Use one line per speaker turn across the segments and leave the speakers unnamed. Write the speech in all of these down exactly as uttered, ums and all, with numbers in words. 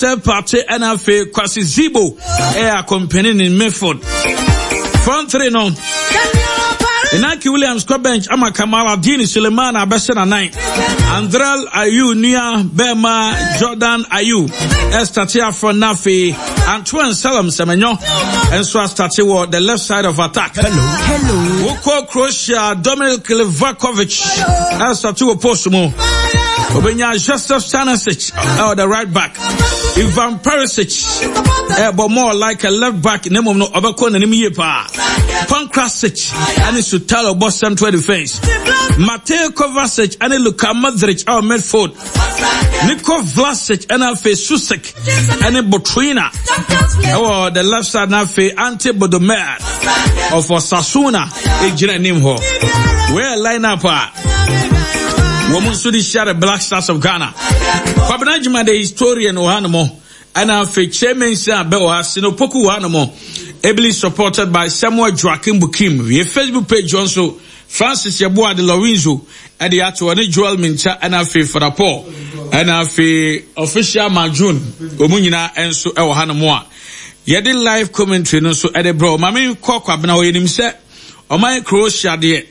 Manuel Partey ɛna afei Kwasi Zibo ɛyɛ accompany ne midfield. Front three no, Inaki Williams kɔ bench ama Kamaradini Suleiman abɛhyɛ n'anan. Andre Ayew nua bɛrima Jordan Ayew ɛstart afɔ, na afei Antoine Salam Semenyo nso astart wɔ the left side of attack.
Hello.
Wokɔ Croatia, Dominic Livakovic ɛstart wɔ post mu. Obenya Joseph Stanisic ɛwɔ the right back. Ivan Perisic ɛbɔ more like a left back, na mmom no ɔbɛkɔ n'anim yie paa. Pongracic ɛne Sutalo bɔ central defence. Mateo Kovacic ɛne Luka Modric ɛwɔ midfield. Niko Vlasic ɛna afei Susek ɛne Botrina ɛwɔ the left side, na afei Ante Budimir of Osasuna egyina anim hɔ. Wei line up a wɔn nso de hyia the Black Stars of Ghana. Kwabena Juma the historian wɔ hanom, ɛna afei Chairman a bɛ wɔ ha, Sinopoku wɔ hanom, ably supported by Samuel Joaquim Bukim. Yɛ Facebook page wɔn so, Francis Yeboah de Lorenzo ɛde ato ɔne Joel Mincha, ɛna afei Fada Paul, ɛna afei official Majun, wɔn nyinaa nso ɛwɔ hanom a yɛde live commentary no nso ɛde brɛ. Maame kɔ Kwabena hɔ, yɛnim sɛ ɔman Croatia deɛ,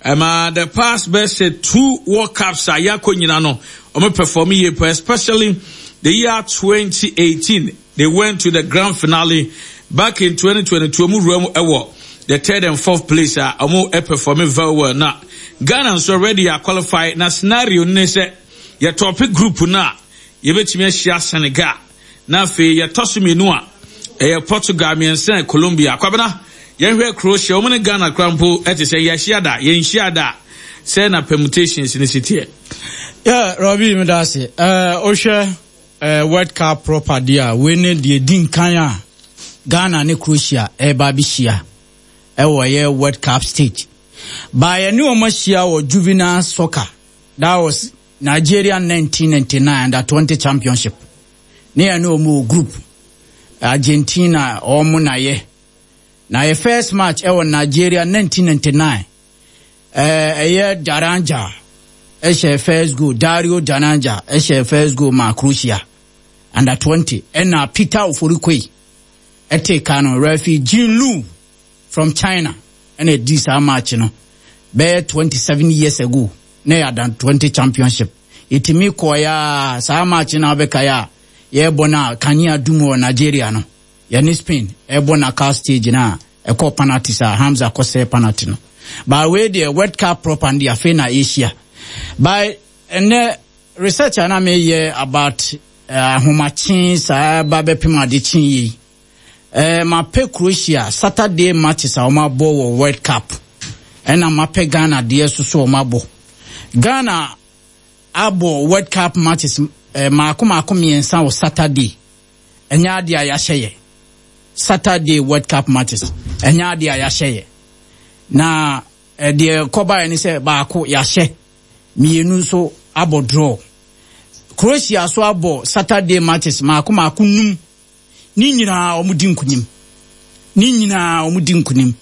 ɛma the past best two World Cups a yɛakɔ nyina no, ɔmo perform yie pa, especially the year twenty eighteen they went to the grand finale. Back in twenty twenty-two ɔmo wura mu ɛwɔ the third and fourth place a ɔmo perform very well. Na Ghana nso already a qualify, na scenario ne sɛ yɛtop group no a, yɛbɛtumi ahyia Senegal, na afei yɛtɔ so mmienu a ɛyɛ Portugal, mmiɛnsa Colombia. Kwabena, yɛnhwɛ Croatia, wɔn ne Ghana kora mpo ɛte sɛ yɛahyia da, yɛnhyia da sɛ na permutations ne si teɛ.
Yeah, Robbie, mi da ase. Ɛɛ ohwɛ ɛɛ World Cup proper deɛ a, wei ne deɛ di nkan a Ghana ne Croatia ɛreba abɛhyia ɛwɔ ɛyɛ World Cup stage. Baayɛ ne wɔn ahyia wɔ juvenile soccer, that was Nigeria nineteen ninety-nine under twenty championship. Ne yɛn ne wɔn wɔ group, Argentina wɔn na yɛ na yɛ first match ɛwɔ Nigeria nineteen ninety-nine. ɛɛ ɛyɛ Daranja ɛhyɛ first goal, Dario Daranja ɛhyɛ first goal ma Croatia under twenty, ɛna Peter Ofori-Quaye ɛte ka no. Referee Jean Lu from China ɛna ɛdi saa match no bɛyɛ twenty-seven years ago na yɛ under twenty championship. Yɛtumi kɔɔ ya saa match no abɛka yɛ a yɛrebɔ no a kanea dum wɔ Nigeria no, yɛne Spain ɛrebɔ knockout stage no a ɛkɔ penalty saa Hamza kɔsɛɛ penalty no. But wei deɛ, World Cup proper no deɛ, afei na yɛhyia. But ɛnɛ research a na meyɛ about ahomakye saa ba bɛpem adekye yi, ɛɛ mapɛ Croatia Saturday matches a wɔn abɔ wɔ World Cup, ɛna mapɛ Ghana deɛ so so wɔn abɔ. Ghana abɔ World Cup matches ɛɛ maako maako mmiɛnsa wɔ Saturday. Ɛnyɛ adeɛ a yɛahyɛ yɛ Saturday World Cup matches, ɛnyɛ adeɛ a yɛahyɛ yɛ. Na ɛdeɛ kɔbaeɛ ne sɛ baako yɛahyɛ, mmienu nso abɔ draw. Croatia so abɔ Saturday matches maako maako num, ne nyinaa wɔn di nkunim, ne nyinaa wɔn di nkunim.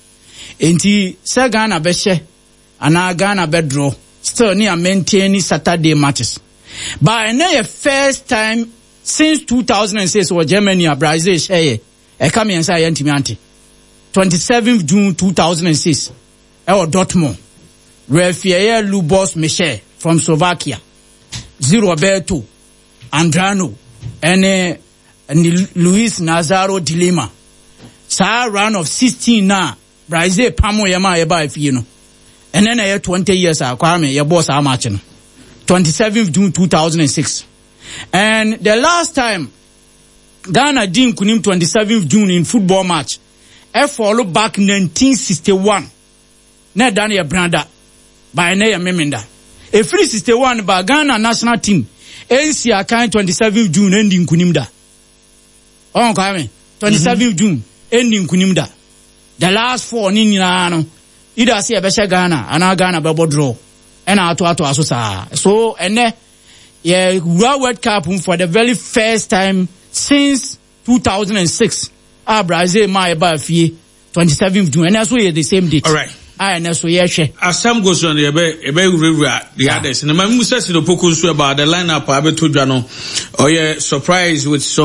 Nti sɛ Ghana bɛhyɛ anaa Ghana bɛdraw, still ne a maintain Saturday matches. But ɛnɛ yɛ first time since two thousand and six wɔ Germany a Brazil hyɛ yɛ ɛka mmiɛnsa a yɛntumi ante. twenty-seventh June two thousand and six ɛwɔ Dortmund, referee ɛyɛ Lubos Michel from Slovakia, Ze Roberto Andrano ɛne ne Luis Nazaro de Lima. Saa round of sixteen na Brazil pamo yɛ ma yɛbaa fie no, ɛnɛ na ɛyɛ twenty years a Kwame yɛbɔɔ saa match no, twenty-seventh June two thousand and six. And the last time Ghana di nkunim twenty-seventh June in football match ɛfall back nineteen sixty-one, na ɛda no yɛ brada by ɛnɛ yɛ Memenda. Ɛfiri sixty-one ba, Ghana national team ɛnsi akan twenty-seventh June ɛndi nkunim da. Ɔn Kwame, twenty-seventh June ɛndi nkunim da. The last four ne nyinaa no, either sɛ yɛbɛhyɛ Ghana anaa Ghana bɛbɔ draw, ɛna atoatoa so saa. So ɛnɛ yɛ wura World Cup for the very first time since two thousand and six a Brazil maa yɛbaa fie twenty-seventh June. Ɛnɛ so yɛ the same date.
All right.
A ɛnɛ so yɛhwɛ.
Asɛm go so no, yɛbɛ yɛbɛ wurawura the others na mamu sɛ Sinopoku nso about the lineup a abɛto dwa no, ɔyɛ surprise with some